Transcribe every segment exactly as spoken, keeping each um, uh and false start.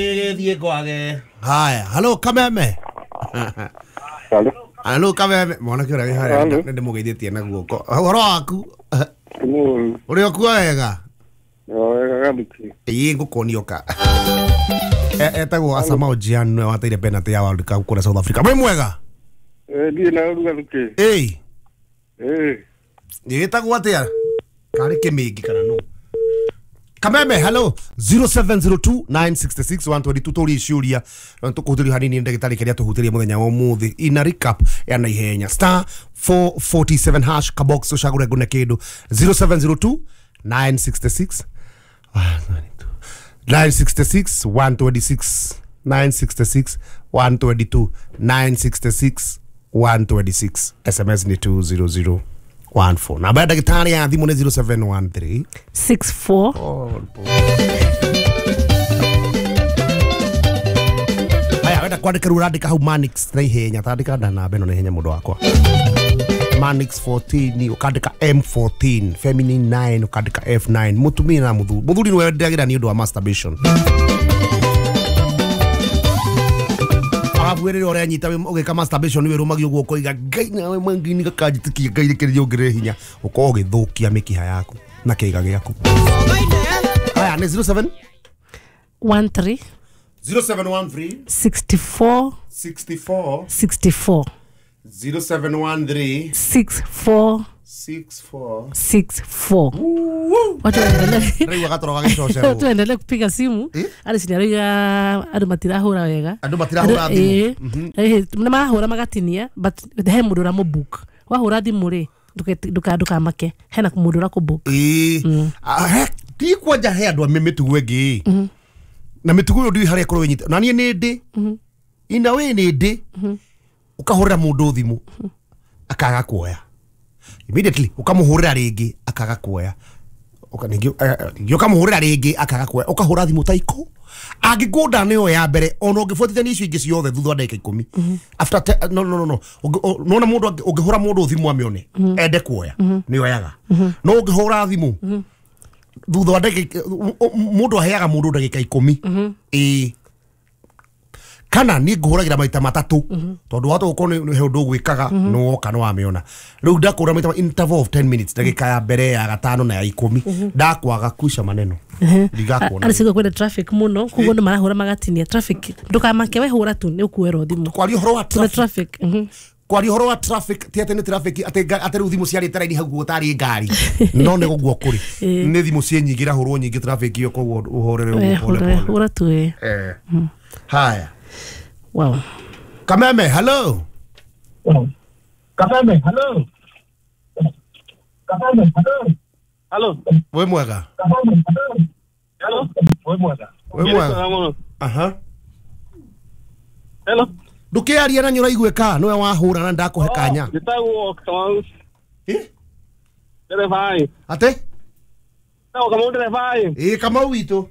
Gĩthiĩ kwage. Haya, halo Kameme. Halo. Halo Kameme, mwanake ũrĩa wĩ harĩa Halo. nĩ ndĩmũgeithĩtie na guoko. Ũhoro waku? Mũru. Ũrĩ okuo wega? Wega Gathuki. Ĩĩ ngũkuonio ka. E- Etagwo Asamoah Gyan nĩwe wateire penalty ya World Cup kũrĩa South Africa. Wĩ mwega? Eh, ndiĩ na ũru Gathuki. Ĩĩ. Eh, Ĩtagwo atĩa? Karĩ kĩmĩngi kana nũ? Kameme, hello zero seven zero two nine six six one two two tũrie ciũria tũkũhutĩrio hanini nĩ ndagĩtarĩ kĩrĩa tũhutĩrie mũthenya wa ũmũthĩ ina recap ya naihenya star four forty-seven hash kabox ũcagũre ngũne kĩndũ zero seven zero two nine six six nine six six one two six nine six six one two two nine six six one two six. S M S ni two zero zero one four. Namba ya ndagĩtarĩ ya thimũ nĩ zero seven one three six four. Haya, wenda kwandĩka rĩu ũrandĩka hau Manix na ihenya, tandĩka nda namba ĩno na ihenya mũndũ wakwa. Manix fourteen ũkandĩka M fourteen, feminine nine ũkandĩka F nine, mũtumia na mũthuri. Mũthuri nĩwe ndagĩra nĩ ũndũ wa masturbation. Arabu rĩrĩa ũranyita ũgĩka masturbation wĩrũmagia ũguo ũkoiga Ngai nawe mangini gakanjĩtĩkia Ngai rĩkĩrĩria ũngĩrĩre hinya ũkorwo ũgĩthũkia mĩkiha yaku na kĩiga gĩaku. Haya, nĩ zero seven one three zero seven one three sixty-four sixty-four sixty-four. zero seven one three sixty-four sixty-four sixty-four. Watu waendelee Rĩu agatoro gagĩcocerwo. Watu waendelee kupiga simu. Eh? Arĩ cinarauga andũ matirahũra wega. Andũ matirahũra thimũ. Thimũ nĩ marahũra magatinia, but he mũndũ ũramũbook. Wahũra thimũ rĩ, nduka ndukamake hena mũndũ ũrakũbook. Ĩĩ. Ah, he- ti kwanja he andũ a mĩtugo ĩngĩ na mĩtugo ĩyo ndiũĩ harĩa ĩkorwo ĩnyita na niĩ nĩ ndĩ ina wĩ nĩ ndĩ ũkahũrĩra mũndũ thimũ akaga kuoya immediately, ũkamũhũrĩra rĩngĩ akaga kuoya. Ũka- ningĩ eh, ningĩ ũkamũhũrĩra rĩngĩ akaga kuoya, ũkahũra thimũ ta ikũ angĩkũnda nĩyo ya mbere ona ũngĩbuatithania icio ingĩ ciothe thutha wa ndagĩka ikũmi after te, no no no no Ũngĩ- ũ- nona mũndũ angĩ- ũngĩhũra mũndũ thimũ amĩone ende kuoya nĩoyaga, no ũngĩhũra thimũ thutha wa ndagĩka mũndũ aheaga mũndũ ndagĩka ikũmi ĩĩ kana niĩ ngũhũragĩra maita matatũ tondũ wahota gũkorwo nĩ he ũndũ ũgwĩkaga nĩ woka nĩ wamĩona rĩu ndakũra maita interval of ten minutes, ndagĩka ya mbere, ya gatano na ya ikũmi, ndakwaga kuica maneno ndigakuona. Arĩ cigo kwĩna traffic mũno koguo nĩ marahũra magatinia traffic. Ndũkamake, we hũra tu nĩ ũkuoerwo thimũ. Kwaria ũhoro wa Kwĩna traffic traffic mhm. Kwaria ũhoro wa traffic ti atĩ nĩ traffic atĩ nga- atĩ rĩu thimũ ciarĩte raini hau guo tarĩ ngari, no nĩ gũguo kũrĩ nĩ thimũ ciĩ nyingĩ irahũrwo nyingĩ traffic ĩyo, koguo ũhorere We ũguo pole hũra pole. Hũra tu ĩ. Eh. Haya. Wow. Kameme, hello. Kameme, hello. Kameme, hello. Halo. Wĩ mwega? Kameme, hello. Hello. Wĩ mwega. Wĩ mwega. Aha. Hello. Ndũkĩaria na nĩ ũraiguĩka nĩwe wahũra na ndakũhe kanya. Njĩtagwo Kamau. Eh? Ndereba. Atĩ? Njĩtagwo Kamau ndereba. Ĩĩ, Kamau witũ.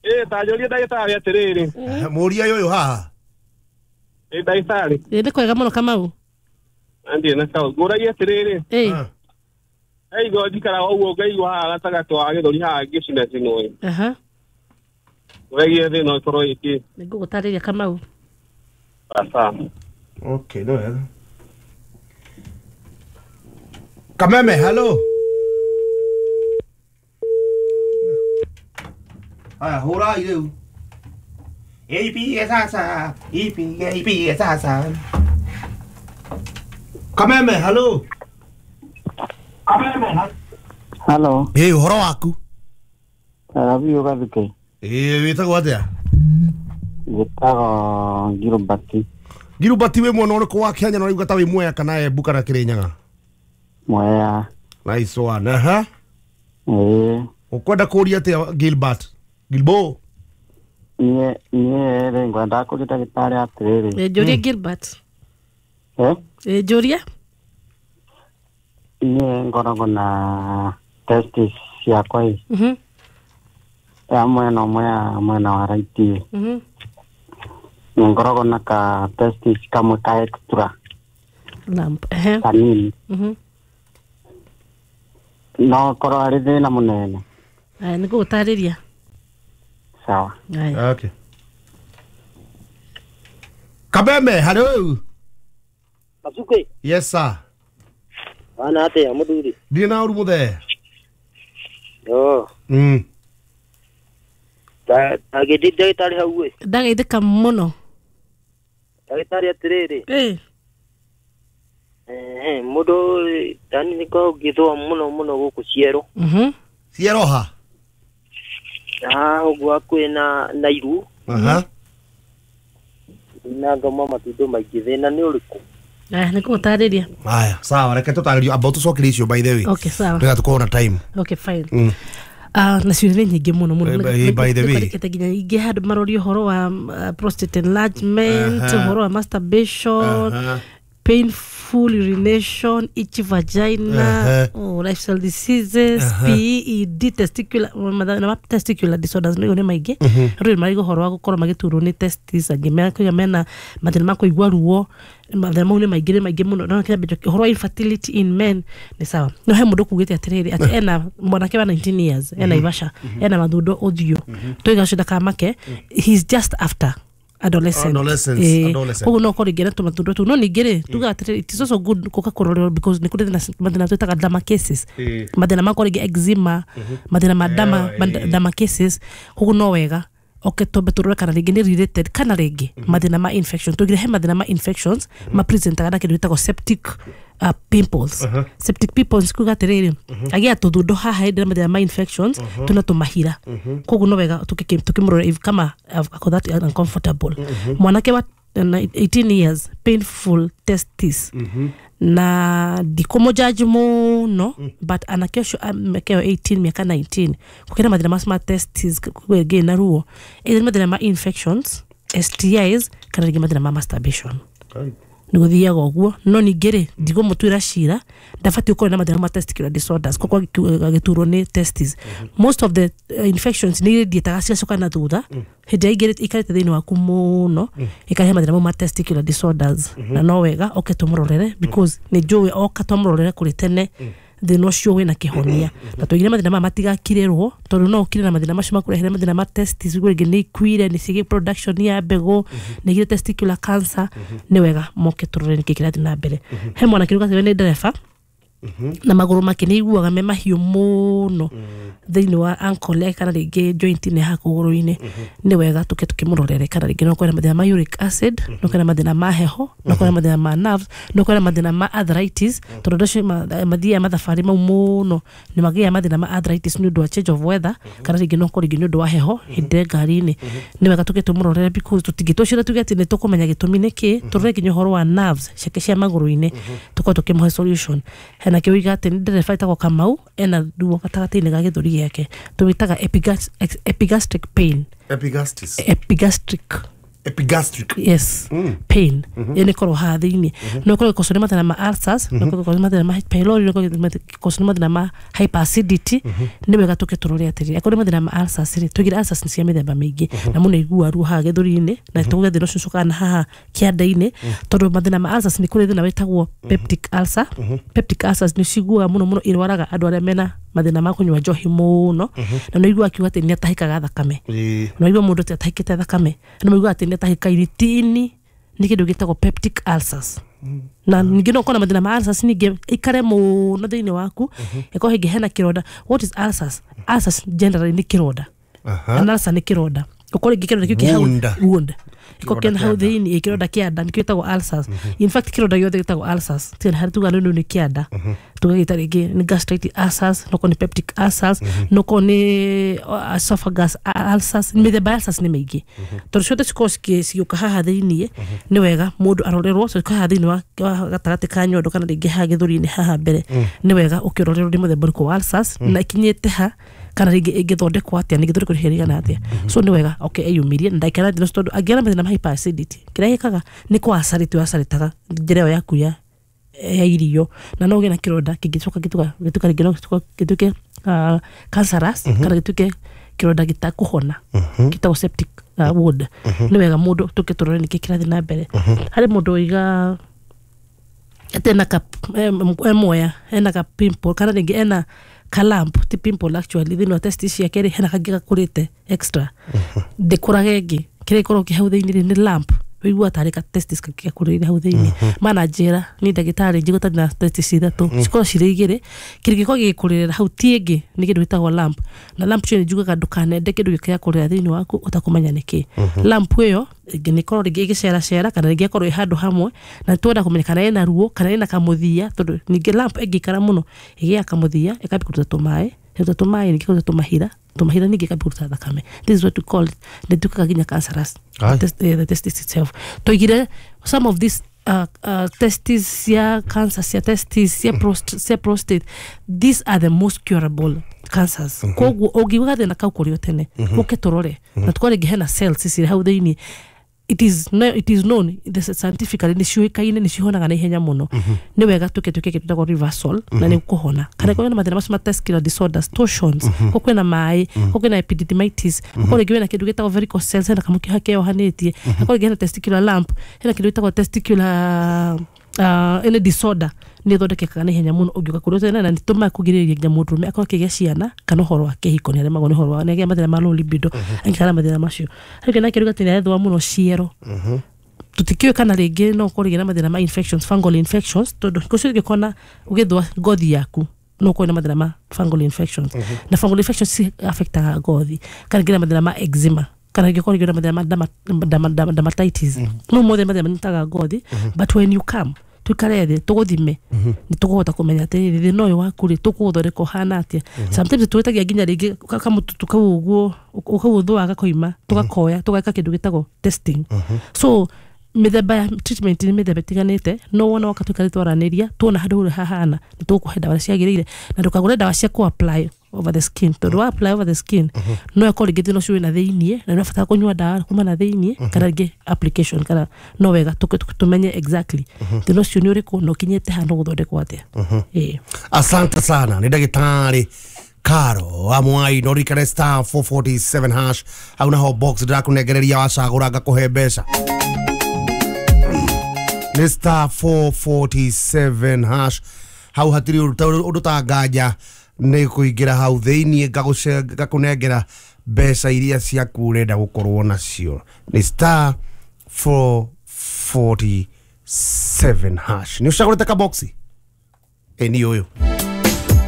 Ĩ, ta njũrie ndagĩtarĩ atĩrĩrĩ. Mũria ũyũ haha. Ĩ, ndagĩtarĩ. Ĩ, nĩ kwega mũno Kamau. Ndiĩ na sawa. Ngũragia atĩrĩrĩ. Ĩ. Ah. He igo njikaraga ũguo ngaigua haha gatagatĩ wa gĩthũri haha ngĩcinacinwo. Aha. Ngũragia thĩna ũkorwo ĩkĩ. Nĩ ngũgũtarĩria Kamau. Sawa. Okay, no wega. Kameme, hello. Haya, hũrai rĩu. Ipige sasa, ipige, ipige sasa. Kameme, hello. Halo, Ĩ, ũhoro waku? Tarabiũ Gathuke. Ĩ, wĩtagwo atĩa? Njĩtagwo Gilbert. Gilbert, wĩ mwena ũrĩkũ wa Kenya na ũrauga ta wĩ Mwea kana Embu kana Kĩrĩnyaga? Mwea. Nice one. Aha. Ĩĩ, Ũkwenda kũria atĩa Gilbert? Gilbo. niĩ niĩ rĩ ngwendaga kũria ndagĩtarĩ atĩrĩrĩ. Ĩ, njũria Gilbert. Eh? Ĩ, njũria. Niĩ ngoragwo na testis ciakwa ĩ Mhm. ya mwena ũmwe ya mwena wa right ĩ. Mhm. Nĩ ngoragwo na ka testis kamwe ka extra Lump. Ehe. kanini. Mhm. No korwo arĩ thĩna mũnene. Aya, nĩ ngũgũtarĩria. Sawa. Haya. Okay. Kabeme, hello. Masuke. Yes sir. Bana ate muthuri. Ndi na uru muthe. Yo. Mm. Ta tagedi ndagitari hau ĩ. Ndageithĩka mũno. Ndagitari atiriri. Eh. Eh, mundu tani niko ngithwa muno muno guku ciero. Mhm. Ciero ha? Ah, uguo hakuhi na na iru. Aha. Na ngoma matundo maingĩ thĩna nĩ ũrĩkũ? Aya, nĩngũgũtarĩria. Aya, sawa, reke tũtarĩrio amba tũcokerie icio by the way. Okay, sawa. Nĩgetha tũkorwo na time. Okay, fine. Mm. Ah, na ciũria nĩ nyingĩ mũno mũno. Eh, by the way. Nĩkwandĩkĩte nginya ingĩ handũ maroria ũhoro wa uh, prostate enlargement, Aha. ũhoro wa masturbation, Aha. painful urination, itchy vagina, Uh-huh. oh, lifestyle diseases, Uh-huh. P E D, testicular, na ma testicular disorders nĩ nĩ maingĩ. Andũ nĩ marigwo ũhoro wa gũkorwo magĩturwo nĩ testis, angĩ mekuiga mena mathĩna ma kũigua ruo, mathĩna mau nĩ maingĩ nĩ maingĩ mũno. No kĩambĩrĩrio ũhoro wa infertility in men nĩ sawa. No he mũndũ kugĩte atĩrĩrĩ atĩ ena mwanake wa nineteen years, ena Ivasha, ena mathundo ũthiũ. Tũiga ũcio ndakamake, he's just after adolescent. Adolescence, Eh, adolescent. koguo no ũkorwo rĩngĩ na tũmathundo tũu no ningĩ rĩ tugaga atĩrĩrĩ it is also good gũka kũrorerwo because nĩ kũrĩ thĩna mathĩna twĩtaga derma cases Eh. mathĩna makorwo rĩngĩ eczema mathĩna ma derma Eh, ma derma cases koguo no wega oke twambe tũrore kana rĩngĩ nĩ related kana rĩngĩ mathĩna ma infection tũgire he mathĩna ma infections ma presentaga na kĩndũ gĩtagwo septic uh, pimples septic pimples kuga atĩrĩrĩ agĩa tũthundo haha hĩndĩ ĩrĩa mathĩna ma infections tũna tũmahira koguo no wega tũkĩ- tũkĩmũrora if kama ako that uncomfortable mwanake wa na eighteen years painful testis na ndikũmũjaji mũno but anake ũcio mĩaka ĩyo eighteen mĩaka nineteen gũkĩra mathĩna macio ma testis kwĩngĩ na ruo either nĩ mathĩna ma infections S T Is kana rĩngĩ mathĩna ma masturbation nĩ gũthiaga ũguo no ningĩ rĩ ndigũmũtuĩra cira ndabatiĩ gũkorwo na mathĩna ma testicular disorders koguo agĩturwo nĩ testis most of the uh, infections nĩ irĩthiĩtaga cigacoka na thutha hĩndĩ ĩrĩa ingĩ ikarĩte thĩinĩ waku mũno ĩkarehe mathĩna mau ma testicular disorders na no wega oke tũmũrorere because nĩ njũĩ oka twamũrorere kũrĩ tene thĩna ũcio wĩna kĩhonia na tũigire mathĩna maya matigakirĩrwo tondũ no ũkire na mathĩna macio makũrehere mathĩna ma testis ũguo rĩngĩ nĩ ikuire nĩ cigĩ production ya mbegũ nĩ igire testicular cancer nĩ wega moke tũrore nĩkĩ kĩrathiĩ na mbere he mwanake ũrĩa nĩ ndereba na magũrũ make nĩ aiguaga me mahiũ mũno thĩinĩ wa ankle yake kana rĩngĩ joint-inĩ haha kũgũrũ-inĩ nĩ wega tũke tũkĩmũrorere kana rĩngĩ no kwĩna mathĩna ma uric acid no kwĩna mathĩna ma heho no kwĩna mathĩna ma nerves no kwĩna mathĩna ma arthritis tondũ andũ acio mathiaga mathabarĩ mau mũno nĩ magĩaga mathĩna ma arthritis nĩ ũndũ wa change of weather kana rĩngĩ no korwo rĩngĩ nĩ ũndũ wa heho hĩndĩ ĩrĩa ngari-inĩ nĩ wega tũke tũmũrorere because tũtingĩtũcira tuge atĩ nĩ tũkũmenya gĩtũmi nĩ kĩ tũrore nginya ũhoro wa nerves ciake cia magũrũ-inĩ tũkorwo tũkĩmũhe solution hena kĩu atĩ nĩ ndereba ĩtagwo Kamau ena ruo gatagatĩ-inĩ ga gĩthũri gĩake tũwĩtaga epigas- epigastric pain Epigastis. epigastric Epigastric. Yes, pain ĩyo nĩ ĩkorwo haha thĩinĩ no ĩkorwo ĩgĩkoswo nĩ mathĩna ma ulcers no ĩkorwo ĩgĩkoswo nĩ mathĩna ma H pylori no ĩkorwo ĩgĩkoswo nĩ mathĩna ma hyperacidity nĩ wega tũke tũrore atĩrĩrĩ akorwo nĩ mathĩna ma ulcers rĩ tũigire ulcers nĩ cia mĩthemba mĩingĩ na mũndũ aiguaga ruo haha gĩthũri-inĩ na tũge thĩna ũcio ũcokaga na haha kĩanda-inĩ tondũ mathĩna ma ulcers nĩ kũrĩ thĩna wĩtagwo peptic ulcer peptic ulcers nĩ ciguaga mũno mũno irwaraga andũ arĩa mena mathĩna ma kũnyua njohi mũno na nĩ ũiguaga akiuga atĩ nĩ atahĩkaga thakame Ĩĩ. na ũigua mũndũ atĩ atahĩkĩte thakame na ũigua atĩ nĩ atahĩka iritini nĩ kĩndũ gĩtagwo peptic ulcers na ningĩ no ũkorwo na mathĩna ma ulcers ningĩ ikare mũno thĩinĩ waku ĩkorwo hĩngĩ hena kĩronda what is ulcers ulcers generally nĩ kĩronda Aha. an ulcer nĩ kĩronda ũkorwo rĩngĩ kĩronda kĩu kĩ hau Wound. wound ĩkorwo Kĩronda kĩna hau kĩa nda. thĩinĩ kĩronda kĩa nda nĩkĩo gĩtagwo ulcers in fact kĩronda gĩothe gĩtagwo ulcers tiga harĩ tuga nĩ nĩ kĩa nda tũgagĩta rĩngĩ nĩ gastritis ulcers no korwo nĩ peptic ulcers no korwo nĩ uh, esophagus ulcers mĩthemba ya ulcers nĩ mĩingĩ tondũ ciothe cikorwo cigĩũka haha thĩinĩ nĩ wega mũndũ arorerwo ciũka haha thĩinĩ wa wa gatagatĩ ka nyondo kana rĩngĩ haha gĩthũri-inĩ haha mbere nĩ wega ũkĩrorerwo nĩ mũthemba ũrĩkũ wa ulcers na ikinyĩte ha kana rĩngĩ ĩngĩthondekwo atĩa nĩ ĩngĩthondekwo ihinda rĩigana atĩa so nĩ wega okay eyumĩrie na ndaikara thĩna ũcio tondũ angĩgĩa na mathĩna ma hyperacidity kĩrĩa gĩkaga nĩ kũ acarĩtaga njĩra ĩyo yaku ya ya irio na no ũgĩe na kĩronda kĩngĩcoka gĩtuka gĩtuka rĩngĩ no gĩtuĩke uh, cancerous kana gĩtuĩke kĩronda gĩtakũhona gĩtagwo septic uh, wound nĩ wega mũndũ tũke tũrore nĩkĩ kĩrathiĩ na mbere harĩ mũndũ ũiga atĩ ena ka em- emoya ena ka pimple kana rĩngĩ ena ka lump ti pimple actually thĩinĩ wa testis ciake rĩ hena kangĩ gakũrĩte extra ndĩkũraga ĩngĩ kĩrĩa gĩkoragwo kĩ hau thĩinĩ rĩ nĩ lump wĩigua tarĩ ka testis kangĩ gakũrĩire hau thĩinĩ mana njĩra ni ndagĩtarĩ njigua tarĩ na testis ithatũ cikorwo cirĩ igĩrĩ kĩndũ gĩkorwo gĩgĩkũrĩrĩra hau ti ĩngĩ nĩ kĩndũ gĩtagwo lump na lump cio nĩ njugaga ndũkanende kĩndũ gĩkĩrakũrĩra thĩinĩ waku ũtakũmenya nĩkĩ lump ĩyo ĩngĩ nĩ ĩkorwo rĩngĩ ĩgĩceracera kana rĩngĩ ĩkorwo ĩ handũ hamwe na twenda kũmenya kana ĩna ruo kana ĩna kamũthia tondũ ningĩ lump ĩngĩikara mũno ĩgĩaga kamũthia ĩkambia kũruta tũmaĩ ĩruta tũmaĩ ningĩ kũruta tũmahira tũmahira ningĩ ĩkambia kũruta thakame. This is what we call it nĩ ĩtuĩkaga nginya cancerous. Aye. Test, eh, the testis itself toigire some of these uh, uh, testis cia cancer cia testis cia, prost, cia prostate, these are the most curable cancers. Koguo ũngiuga gathĩna kau kũrĩ o tene ũke tũrore na tũkorwo rĩngĩ hena cells cirĩ hau thĩinĩ, it is no, it is known the scientifically nĩ ciũĩkaine nĩ cihonaga na ihenya mũno. Nĩ wega tuke tuke kĩndũ gĩtagwo reversal na nĩ kũhona kana korwo na mathĩna macio ma testicular disorders, torsions, ko kwĩna maĩ, ko kwĩna epididymitis, ko rĩngĩ wĩna kĩndũ gĩtagwo varicose cells hena kamũkiha keyohanĩtie, ko rĩngĩ hena testicular lump, hena kĩndũ gĩtagwo testicular uh, any disorder nä thondekekaga na ihenya mũno ũngĩũka kũrĩ tene na nĩ tũmaga kũgirĩrĩria nginya mũndũrũme akorwo akĩgĩa ciana kana ũhoro wa kĩhiko nĩ aremagwo nĩ ũhoro wa nĩ agĩa mathĩna ma low libido angĩkara mathĩna macio harĩ nake rĩu atĩ nĩ arethũa mũno ciero tũtikĩũĩ kana rĩngĩ no ũkorwo rĩngĩ na mathĩna ma infections, fungal infections, tondũ hingo ciothe ũngĩkona ũgĩthũa ngothi yaku no ũkorwo na mathĩna ma fungal infections na fungal infections ci affectaga ngothi kana rĩngĩ na mathĩna ma eczema kana rĩngĩ ũkorwo rĩngĩ na mathĩna ma derma- derma- derma- dermatitis no mothe mathĩna manyitaga ngothi. But when you come tuikare thĩ tũgũthime nĩ tũkũhota kũmenya atĩrĩrĩ thĩna ũyũ waku rĩ tũkũũthondeka ũhana atĩa. Sometimes twĩtagia nginya rĩngĩ ka- kamũtutu kau ũguo ũkaũthũa gakoima tũgakoya tũgeka kĩndũ gĩtagwo testing. So mĩthemba ya treatment nĩ mĩthemba ĩtiganĩte no wona woka tuikare twaranĩria tuona handũ ũrĩa hahana nĩ tũgũkũhe ndawa ciagĩrĩire na ndũkagũre ndawa cia kũ apply over the skin tondũ wa apply over the skin no ĩkorwo rĩngĩ thĩna ũcio wĩna thĩiniĩ na nĩ ũrabatara kũnyua ndawa kuma na thĩiniĩ kana rĩngĩ application kana no wega tũke- tũmenye exactly thĩna ũcio nĩ ũrĩkũ na ũkinyĩte ha no gũthondekwo atĩa. Ĩĩ. Asante sana nä ndagätarä Karo wa Mwai no rikare star four four seven hash hau naho box ndĩrakũnengereria wacagũra ngakũhe mbeca nĩ star four four seven hash hau hatirĩ ũndũ ũndũ ta nganja nĩ kũingĩra hau thĩiniĩ ngagũce- ngakũnengera mbeca iria ciaku ũrenda gũkorwo nacio nĩ star four four seven hash nĩ ũcagũrĩte kaboxi ĩ nĩ ũyũ.